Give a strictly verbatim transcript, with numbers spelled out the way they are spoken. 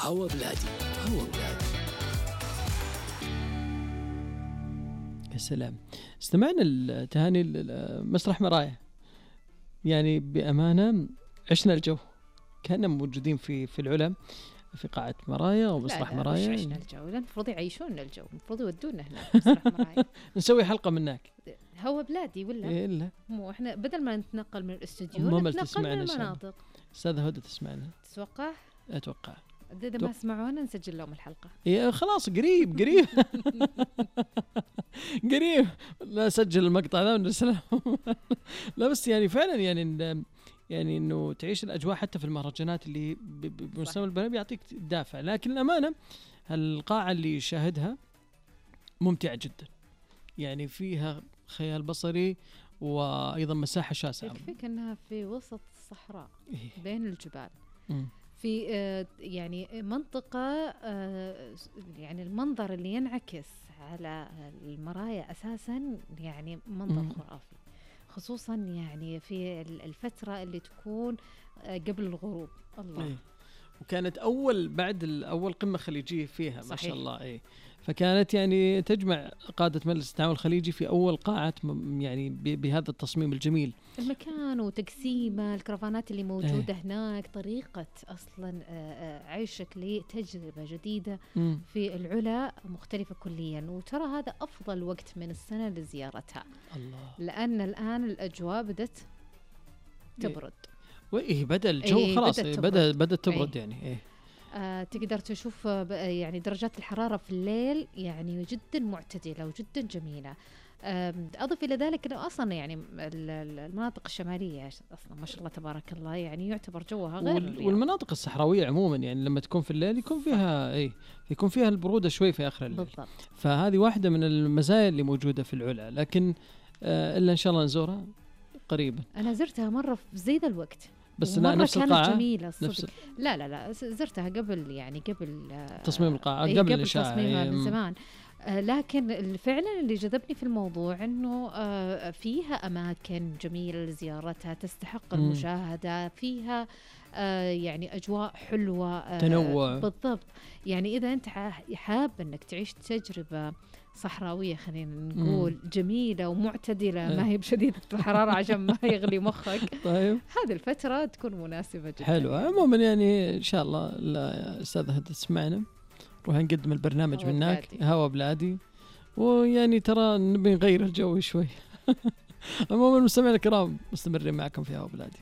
هوا بلادي. هوا بلادي. يا سلام. استمعنا التهاني مسرح مرايا، يعني بأمانة عشنا الجو، كنا موجودين في في العلا في قاعة مرايا ومسرح لا لا مرايا. مش عشنا الجو، لا المفروض يعيشون الجو، المفروض يودونا هناك مسرح مرايا. نسوي حلقة منك. هوا بلادي ولا إيه لا مو احنا بدل ما نتنقل من الاستوديو ممل نتنقل تسمعنا من إن شاء الله. المناطق. أستاذة هدى تسمعنا تتوقع أتوقع. إذا ما سمعونا نسجل لهم الحلقة. إيه خلاص قريب قريب قريب لا سجل المقطع ذا ونرسله. لا بس يعني فعلا يعني إن يعني إنه تعيش الأجواء حتى في المهرجانات اللي ب- ب- بمستوى البلد بيعطيك دافع، لكن الأمانة القاعة اللي شاهدها ممتعة جدا، يعني فيها خيال بصري وأيضا مساحة شاسعة. يكفيك أنها في وسط الصحراء إيه. بين الجبال، مم. في آه يعني منطقة آه يعني المنظر اللي ينعكس على المرايا أساسا يعني منظر مم. خرافي، خصوصا يعني في الفترة اللي تكون آه قبل الغروب. الله. إيه. وكانت أول بعد الأول قمة خليجية فيها ما صحيح. شاء الله. إيه. فكانت يعني تجمع قادة مجلس التعاون الخليجي في أول قاعة م- يعني ب- بهذا التصميم الجميل. المكان وتقسيمه، الكرفانات اللي موجودة ايه. هناك طريقة أصلا آه، آه، عيشك لتجربة جديدة مم. في العلا مختلفة كليا، وترى هذا أفضل وقت من السنة لزيارتها، الله. لأن الآن الأجواء بدت تبرد. وإيه بدأ الجو إيه خلاص بدأت إيه تبرد. بدأ بدأ تبرد إيه. يعني إيه. آه تقدر تشوف آه، ب- يعني درجات الحرارة في الليل يعني جدا معتدلة وجدا جميلة. آم، أضف إلى ذلك أنه أصلا يعني ال- ال- المناطق الشمالية أصلا ما شاء الله تبارك الله يعني يعتبر جوها غير وال- الرياض. والمناطق الصحراوية عموما يعني لما تكون في الليل يكون فيها إيه يكون فيها البرودة شوي في آخر الليل. بالضبط. فهذه واحدة من المزايا اللي موجودة في العلا، لكن آه إلا إن شاء الله نزورها قريبا. أنا زرتها مرة في زي ذا الوقت بس ومرة نفس كانت القاعة جميلة نفس الصدق. لا لا لا ز- زرتها قبل يعني قبل آه، تصميم القاعة إيه قبل قبل الإنشاء. تصميمها إيه. من زمان. آه، لكن ال- فعلا اللي جذبني في الموضوع انه آه، فيها اماكن جميله لزيارتها تستحق مم. المشاهده، فيها آه، يعني اجواء حلوه آه، تنوع. بالضبط. يعني اذا انت ح- حاب انك تعيش تجربه صحراويه خلينا نقول جميله ومعتدله، إيه. ما هي بشديده الحراره عشان ما يغلي مخك، طيب هذه الفتره تكون مناسبه جدا. حلو. عموما يعني إن شاء الله لا أستاذ هدى تسمعنا نروح نقدم البرنامج هوا منك بلادي. هوا بلادي، ويعني ترى نبي نغير الجو شوي. عموما المستمعين الكرام مستمرين معكم في هوا بلادي.